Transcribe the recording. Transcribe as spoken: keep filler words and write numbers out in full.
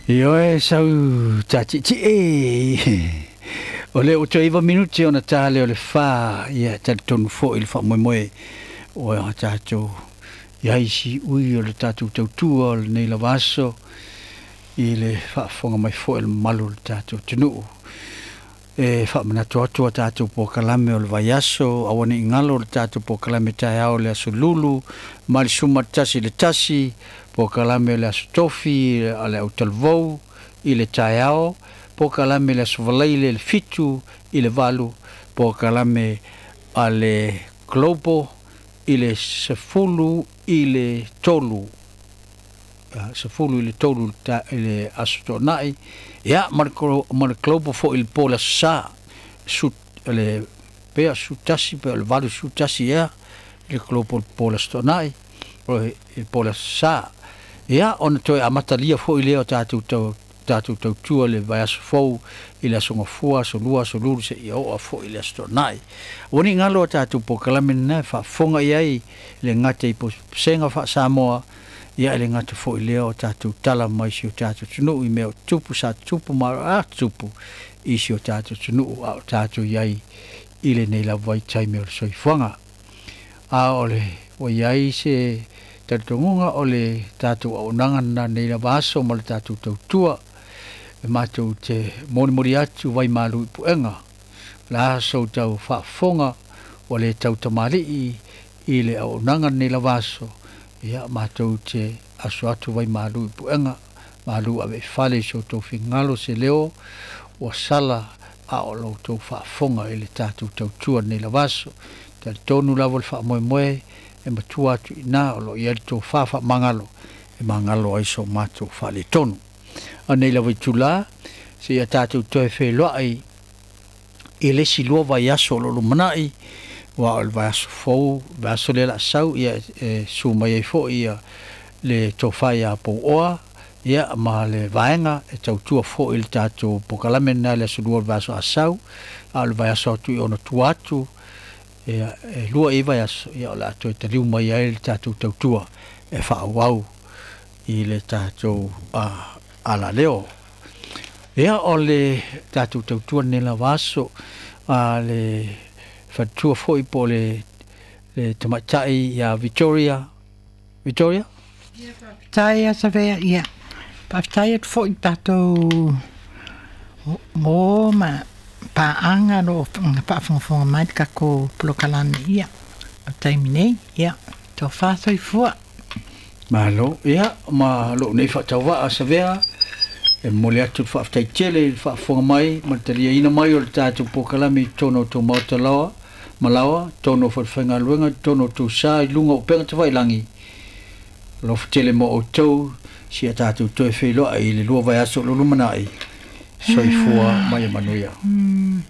Ioe sau tātiiti'i o le o toe iva minuti ona tā lea o le fā, ia talitonu foi i le faamoemoe o a tatou i ai siui o le tatou tautua o lenei lava aso i le faafofoga mai foi o le mamalu o le tatou atunuu. E faamanatu atu a tatou polokalame o le vaiaso, aua ne i galo le tatou polokalame taeao o le aso Lulu ma le suma tasi i le tasi, polokalame o le aso Tofi a le autalavou i le taeao, polokalame le aso Faraile le fitu i le valu, polokalame a le Global i le sefulu i le tolu, sefulu i le tolu i le aso Toonai, ia ma le Global foi i le po le aso Sa, su, le pea su tasi, pe o le valu su tasi ea, i le Global po le aso Toonai, i le po le aso Sa. Ia, ona toe amatalia foi lea o tatou tau tatou tautua le vaiaso fou i le aso Gafua, aso Lua, aso Lulu seia oo foi i le aso Toonai. Ua ni galo a tatou polokalame lena e faafofoga i ai le gata i posega faa-Samoa, ia e le gata foi lea o tatou tala mai si o tatou atunuu i mea o tupu sa tupu ma a tupu i si o tatou atunuu a o tatou i ai i lenei lava vaitaimi o le soifuaga. A o le ua i ai se talitonuga o le tatou auaunaga lena nei lava aso ma le tatou tautua e matou te molimoli atu vaimalu i puega la aso tau faafofoga ua le tautamalii i le auaunaga lenei lava aso. Ia matou te aso atu vaimalu i puega malu ave i fale i so outou finagalo se leo ua sala a o lo outou faafofoga i le tatou tautua lenei lava aso. Talitonu lava le faamoemoe e matua atu i ina o lo o i ai le tofā faamagalo e magalo ai so matou faaletonu. A nei lava itulā seia tatou toe feiloai i le isi lua vaiaso o lo o lumanai, aua o le vaiaso fou, vaiaso lea o le a sau, ia e su mai ai foi ia le tofā iā Pouoa, ia ma le vaega e tautua foi i le tatou polokalame lena i le aso lua o le vaiaso a sau, a o le vaiaso atu i ona tua atu, ia e lua i vaiaso, ia o le a toe taliu mai ai le tatou tautua e faaauau i le tatou uh, alaleo. Ia o le tatou tautua lenei lava aso a le faletua foi po o le, le tamaitai ia Victoria. Victoria? Ia, faafetai a Savea, ia. Faafetai atu foi i tatou mo ma paaga lo faafogafoga mai le tatou polokalame ia. O taimi nei, ia, tofa soifua. Malo, ia, ma lou nei faatauvaa Savea, e momoli atu le faafetai tele i le faafofoga mai ma le taliaina mai o le tatou polokalame i totonu o tou maota laoa, ma laoa, totonu o falefaigaluega, totonu o tou sa i luga o upega tafailagi. Alofa tele mo outou, si a tatou toe feiloai i le lua vaiaso o lo lumanai. Soifua ma ia manuia. Mm.